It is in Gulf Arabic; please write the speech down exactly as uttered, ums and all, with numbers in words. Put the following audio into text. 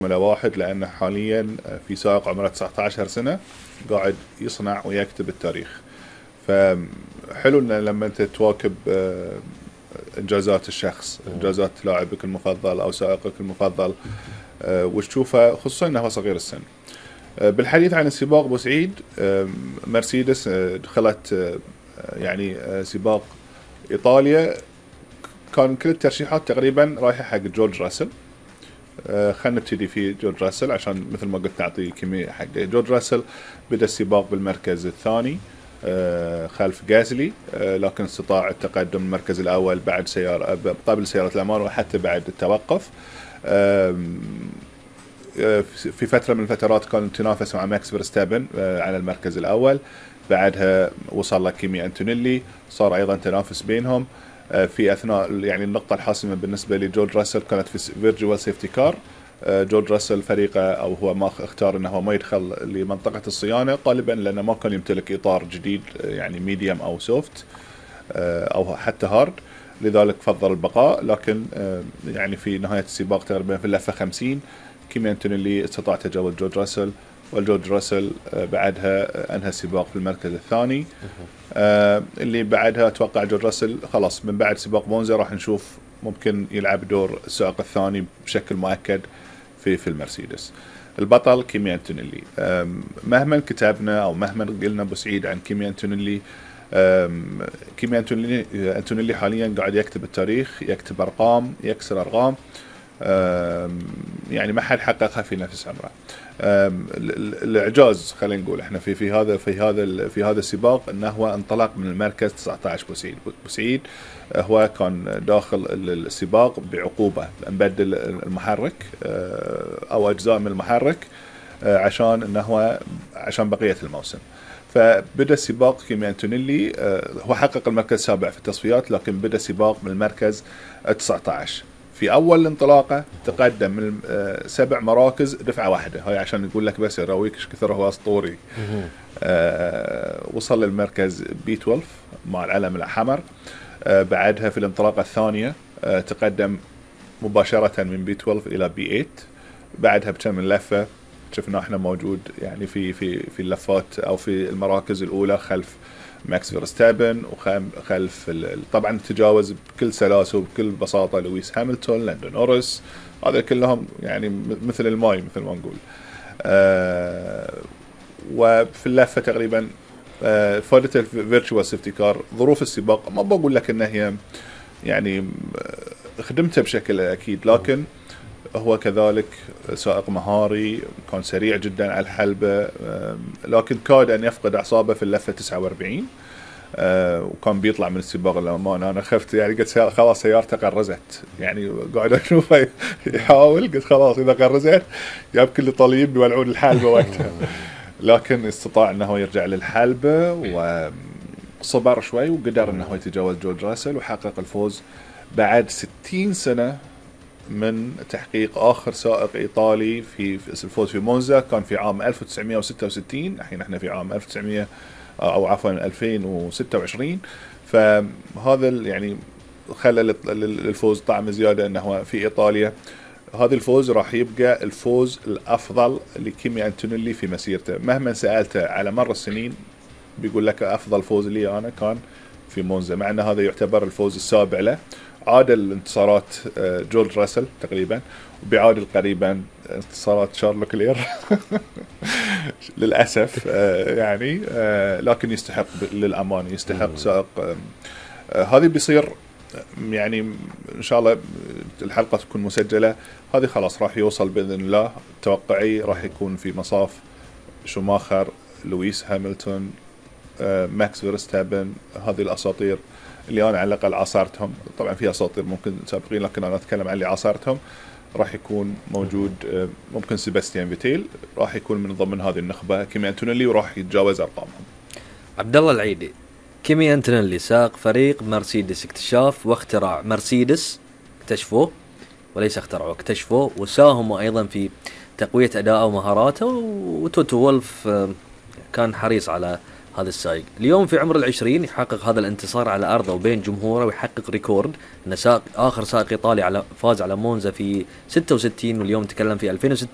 فورمولا واحد، لأنه حاليا في سائق عمره تسعة عشر سنة قاعد يصنع ويكتب التاريخ. فحلو إن لما أنت تواكب إنجازات الشخص، إنجازات لاعبك المفضل أو سائقك المفضل، وتشوفه خصوصا أنه صغير السن. بالحديث عن السباق بوسعيد، مرسيدس دخلت يعني سباق إيطاليا، كان كل الترشيحات تقريبا رايحة حق جورج راسل. خلنا نبتدي في جورج راسل عشان مثل ما قلت نعطي كمية حق جورج راسل. بدأ السباق بالمركز الثاني خلف غازلي، لكن استطاع التقدم المركز الأول بعد سيارة قبل سيارة الأمان وحتى بعد التوقف. في فترة من الفترات كان تنافس مع ماكس فيرستابن على المركز الأول، بعدها وصل لك كيمي أنتونيلي، صار أيضا تنافس بينهم. في أثناء يعني النقطة الحاسمة بالنسبة لجورج راسل كانت في فيرجوال سيفتي كار. جورج راسل فريقه أو هو ما اختار أنه ما يدخل لمنطقة الصيانة غالبا لأنه ما كان يمتلك إطار جديد يعني ميديوم أو سوفت أو حتى هارد، لذلك فضل البقاء. لكن يعني في نهاية السباق تقريبا في اللفة خمسين كيمي أنتونيلي استطاع تجاوز جورج راسل، والجورج راسل بعدها أنهى السباق في المركز الثاني. اللي بعدها أتوقع جورج راسل خلاص من بعد سباق مونزا راح نشوف ممكن يلعب دور السائق الثاني بشكل مؤكد في في المرسيدس. البطل كيمي أنتونيلي. مهما كتبنا أو مهما قلنا بوسعيد عن كيمي أنتونيلي، كيمي أنتونيلي أنتونيلي حاليا قاعد يكتب التاريخ، يكتب أرقام، يكسر أرقام يعني ما حد حققها في نفس عمره. الإعجاز خلينا نقول احنا في في هذا في هذا في هذا السباق انه هو انطلق من المركز تسعة عشر. بوسعيد بوسعيد هو كان داخل السباق بعقوبة، نبدل المحرك او اجزاء من المحرك عشان انه هو عشان بقية الموسم. فبدأ السباق كيمي أنتونيلي هو حقق المركز السابع في التصفيات، لكن بدأ السباق من المركز تسعة عشر. في أول انطلاقة تقدم من سبع مراكز دفعة واحدة، هاي عشان يقول لك بس يراويك ايش كثر هو أسطوري. آه وصل للمركز بي اثنا عشر مع العلم الأحمر. آه بعدها في الانطلاقة الثانية آه تقدم مباشرة من بي اثنا عشر إلى بي ثمانية. بعدها بكم من لفة شفنا احنا موجود يعني في في في اللفات أو في المراكز الأولى خلف ماكس فيرستابن، وخلف طبعا تجاوز بكل سلاسة وبكل بساطة لويس هاملتون، لاندو نوريس، هذا كلهم يعني مثل الماي مثل ما نقول. آه وفي اللفة تقريبا آه فادت الفيرتشوال سيفتي كار. ظروف السباق ما بقول لك انها هي يعني خدمتها بشكل اكيد، لكن هو كذلك سائق مهاري، كان سريع جدا على الحلبة، لكن كاد أن يفقد أعصابه في اللفة تسعة وأربعين. وكان بيطلع من السباق للأمانة أنا خفت يعني، قلت خلاص سيارته قرزت يعني، قاعد أشوفه يحاول قلت خلاص إذا قرزت جاب كل طليب بيولعون الحلبة وقتها. لكن استطاع أنه يرجع للحلبة وصبر شوي وقدر أنه يتجاوز جورج راسل وحقق الفوز بعد ستين سنة من تحقيق آخر سائق إيطالي في الفوز في مونزا. كان في عام ألف وتسعمائة وستة وستين، الحين احنا في عام ألف وتسعمائة أو عفوا ألفين وستة وعشرين. فهذا يعني خلى للفوز طعم زيادة أنه في إيطاليا. هذا الفوز راح يبقى الفوز الأفضل لكيمي أنتونيلي في مسيرته. مهما سألته على مر السنين بيقول لك أفضل فوز لي أنا كان في مونزا، مع أن هذا يعتبر الفوز السابع له. عادل انتصارات جورج راسل تقريبا، وبيعادل قريبا انتصارات شارل كلير للأسف يعني، لكن يستحق للأمان، يستحق سائق. هذه بيصير يعني إن شاء الله الحلقة تكون مسجلة، هذه خلاص راح يوصل بإذن الله. توقعي راح يكون في مصاف شوماخر، لويس هاملتون، ماكس فيرستابن، هذه الأساطير اللي أنا على الأقل عاصرتهم. طبعا في أساطير ممكن سابقين لكن أنا أتكلم عن اللي عاصرتهم. راح يكون موجود ممكن سيباستيان فيتيل راح يكون من ضمن هذه النخبة، كيمي أنتونيلي وراح يتجاوز أرقامهم. عبد الله العيدي، كيمي أنتونيلي ساق فريق مرسيدس اكتشاف واختراع مرسيدس، اكتشفوه وليس اخترعوه، اكتشفوه وساهموا أيضا في تقوية أداءه ومهاراته. وتوتو وولف كان حريص على هذا السائق. اليوم في عمر العشرين يحقق هذا الانتصار على أرضه وبين جمهوره ويحقق ريكورد إنه سائق آخر سائق إيطالي على فاز على مونزا في ستة وستين، واليوم تكلم في ألفين وستة